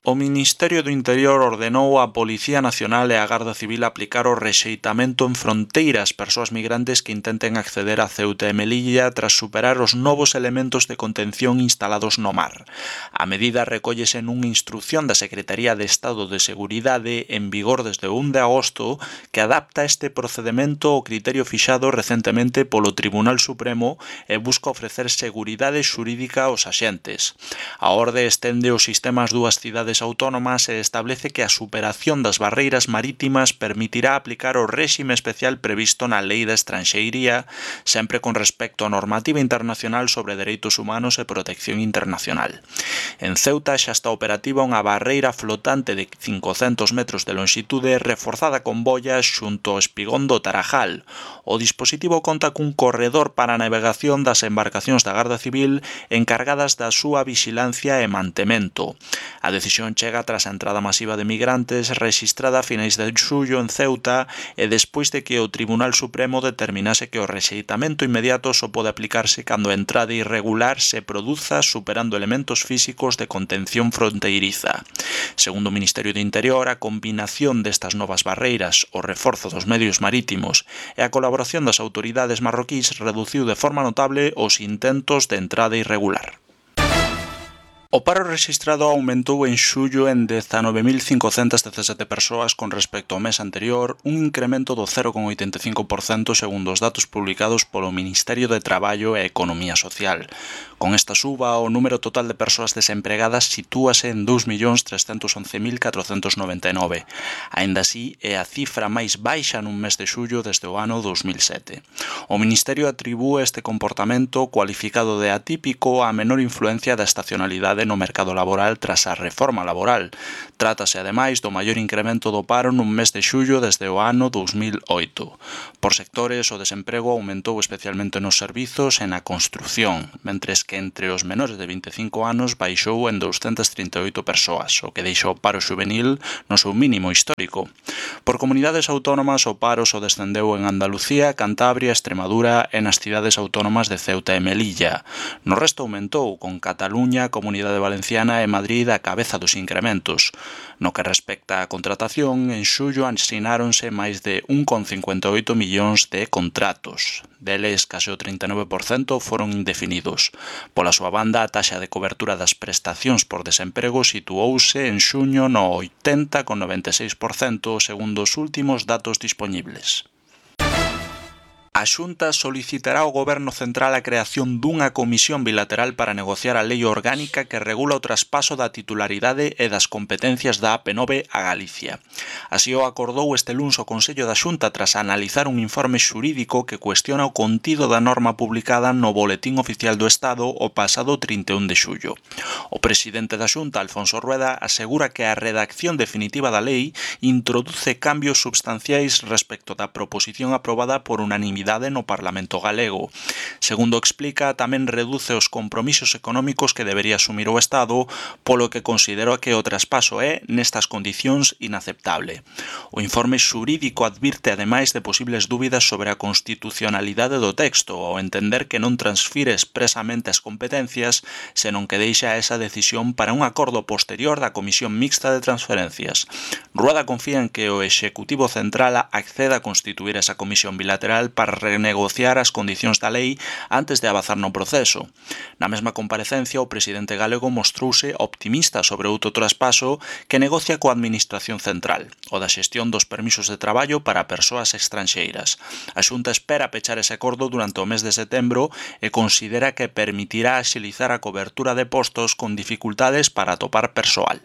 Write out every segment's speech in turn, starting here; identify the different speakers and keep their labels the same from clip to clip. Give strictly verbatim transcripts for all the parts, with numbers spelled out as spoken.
Speaker 1: O Ministerio do Interior ordenou á Policía Nacional e á Garda Civil aplicar o rexeitamento en fronteira ás persoas migrantes que intenten acceder a Ceuta e Melilla tras superar os novos elementos de contención instalados no mar. A medida recóllese nunha instrucción da Secretaría de Estado de Seguridade en vigor desde o un de agosto que adapta este procedemento ao criterio fixado recentemente polo Tribunal Supremo e busca ofrecer seguridade xurídica aos axentes. A orde estende os sistemas dúas cidades autónomas e establece que a superación das barreiras marítimas permitirá aplicar o réxime especial previsto na Lei da Estranxeiría, sempre con respecto á normativa internacional sobre dereitos humanos e protección internacional. En Ceuta xa está operativa unha barreira flotante de cincocentos metros de longitude reforzada con boias xunto ao espigón do Tarajal. O dispositivo conta cun corredor para a navegación das embarcacións da Garda Civil encargadas da súa vixilancia e mantemento. A decisión chega tras a entrada masiva de migrantes rexistrada a finais de xullo en Ceuta e despois de que o Tribunal Supremo determinase que o rexeitamento inmediato só pode aplicarse cando a entrada irregular se produza superando elementos físicos de contención fronteiriza. Segundo o Ministerio do Interior, a combinación destas novas barreiras, o reforzo dos medios marítimos e a colaboración das autoridades marroquís reduciu de forma notable os intentos de entrada irregular. O paro rexistrado aumentou en xullo en dezanove mil cincocentas dezasete persoas con respecto ao mes anterior, un incremento do cero coma oitenta e cinco por cento segundo os datos publicados polo Ministerio de Traballo e Economía Social. Con esta suba, o número total de persoas desempregadas sitúase en dous millóns trescentos once mil catrocentos noventa e nove. Aínda así, é a cifra máis baixa nun mes de xullo desde o ano dous mil sete. O Ministerio atribúe este comportamento cualificado de atípico á menor influencia da estacionalidade no mercado laboral tras a reforma laboral. Trátase, ademais, do maior incremento do paro nun mes de xullo desde o ano dous mil oito. Por sectores, o desemprego aumentou especialmente nos servizos e na construción, mentres que entre os menores de vinte e cinco anos baixou en douscentas trinta e oito persoas, o que deixa o paro xuvenil no seu mínimo histórico. Por comunidades autónomas, o paro só descendeu en Andalucía, Cantabria, Extremadura e nas cidades autónomas de Ceuta e Melilla. No resto aumentou, con Cataluña, Comunidade Valenciana e Madrid a cabeza dos incrementos. No que respecta á contratación, en xullo asináronse máis de un coma cincuenta e oito millóns de contratos. Deles, case o trinta e nove por cento foron indefinidos. Pola súa banda, a taxa de cobertura das prestacións por desemprego situouse en xuño no oitenta coma noventa e seis por cento segundo os últimos datos dispoñibles. A Xunta solicitará ao Goberno Central a creación dunha comisión bilateral para negociar a lei orgánica que regula o traspaso da titularidade e das competencias da A P nove a Galicia. Así o acordou este luns o Consello da Xunta tras analizar un informe xurídico que cuestiona o contido da norma publicada no Boletín Oficial do Estado o pasado trinta e un de xullo. O presidente da Xunta, Alfonso Rueda, asegura que a redacción definitiva da lei introduce cambios substanciais respecto da proposición aprobada por unanimidade no Parlamento galego. Segundo explica, tamén reduce os compromisos económicos que debería asumir o Estado, polo que considera que o traspaso é, nestas condicións, inaceptable. O informe xurídico advirte ademais de posibles dúbidas sobre a constitucionalidade do texto, ao entender que non transfire expresamente as competencias, senón que deixa esa decisión para un acordo posterior da Comisión Mixta de Transferencias. Rueda confía en que o Executivo Central acceda a constituir esa comisión bilateral para renegociar as condicións da lei antes de avanzar no proceso. Na mesma comparecencia, o presidente galego mostrouse optimista sobre outro traspaso que negocia coa Administración Central, o da xestión dos permisos de traballo para persoas estranxeiras. A Xunta espera pechar ese acordo durante o mes de setembro e considera que permitirá axilizar a cobertura de postos con dificultades para atopar persoal.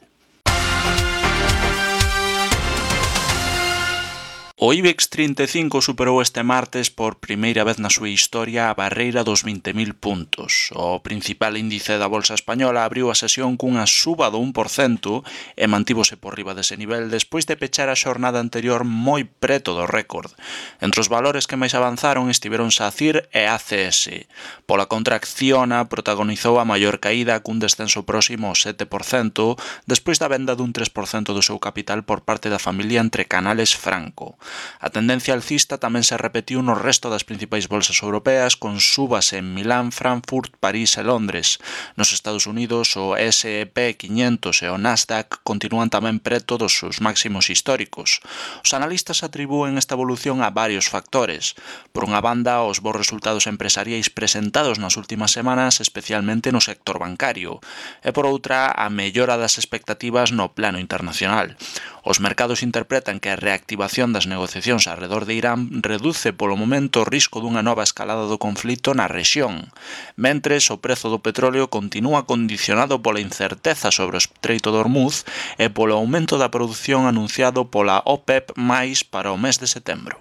Speaker 1: O IBEX trinta e cinco superou este martes por primeira vez na súa historia a barreira dos vinte mil puntos. O principal índice da Bolsa Española abriu a sesión cunha suba do un por cento e mantívose por riba dese nivel despois de pechar a xornada anterior moi preto do récord. Entre os valores que máis avanzaron estiveron SACIR e A C S. Pola contra, Acciona protagonizou a maior caída cun descenso próximo ao sete por cento despois da venda dun tres por cento do seu capital por parte da familia Entre Canales Franco. A tendencia alcista tamén se repetiu no resto das principais bolsas europeas, con subas en Milán, Frankfurt, París e Londres. Nos Estados Unidos, o ese e pe quinhentos e o Nasdaq continúan tamén preto dos seus máximos históricos. Os analistas atribúen esta evolución a varios factores. Por unha banda, os bons resultados empresariais presentados nas últimas semanas, especialmente no sector bancario, e por outra, a mellora das expectativas no plano internacional. Os mercados interpretan que a reactivación das negociacións arredor de Irán reduce polo momento o risco dunha nova escalada do conflito na rexión, mentres o prezo do petróleo continúa condicionado pola incerteza sobre o Estreito de Hormuz e polo aumento da produción anunciado pola OPEP máis para o mes de setembro.